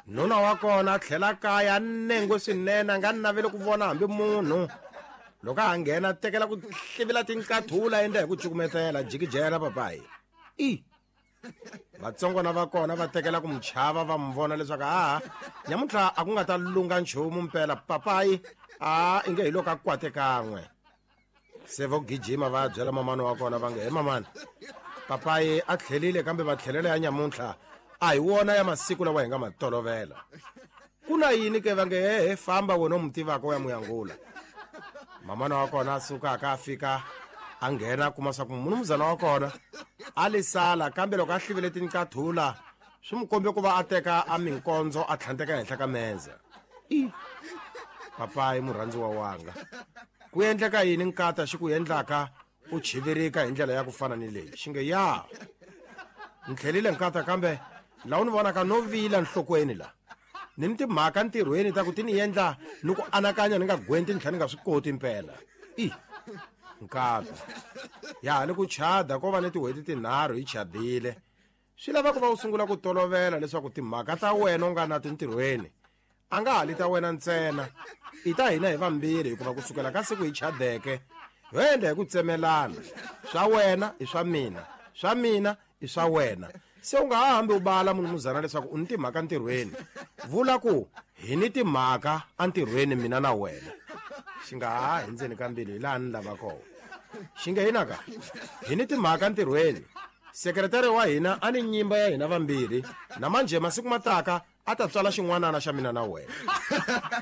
Nuna wa kona a tlhela kaya a nengwe swinene, a nga naveli ku vona hambi munhu. Loko a ha nghena a tekela ku hlivila tinqathula endla hi ku cukumetela jikijela papayi. I vatsongwana va kona va tekela ku mu chava va mu vona leswaku a nyamuntlha a ku nga ta lunga nchumu mpela papayi a inge hi loko a kwate kan'we. Se vo gijima va ya byela mamani wa kona va nge he mamani, papayi a tlhelile kambe matlhelelo ya nyamuntlha a hi wona ya masiku lawa hi nga ma tolovela. Ku na yini ke va nge he he famba wena u mu tivaka u ya mu yangula. Mamana wa kona a sukaka a fika a nghena a kuma swa ku munumuzana wa kona a li sala, kambe loko a hlivile tinqathula swi mu kombe ku va a teka a minkondzo a tlhandleka henhla ka meza. I papayi murhandziwa wanga, ku endleka yini nkata xi ku endlaka u chivirika hi ndlela ya ku fana ni leyi? Xi nge ya ni tlhelile nkata, kambe laha u ni vonaka no vila nhlokweni la ni ni timhaka ntirhweni ta ku ti ni endla ni ku anakanya ni nga gwenti ni tlhela ni nga swi koti mpela. I nkata ya ha li ku chada ko va ni tin'hweti tinharhu hi chadile, swi lava ku va u sungula ku tolovela leswaku timhaka ta wena u nga na tintirhweni a nga ha li ta wena ntsena, i ta hina hi vambirhi, hikuva ku sukela ka siku hi chadeke ho endla hi ku tsemelana, swa wena i swa mina, swa mina i swa wena. Se u nga ha hambi u bala munumuzana leswaku u ni timhaka ntirhweni, vula ku hi ni timhaka entirhweni mina na wena. Xi nga ha hi ndzeni ka mbilu hi laha ni lava kona. Xi nge hinaka hi ni timhaka ntirhweni, sekretari wa hina a ni nyimba ya hina vambirhi, na manje masiku mataka a ta tswala xin'wanana xa mina na wena.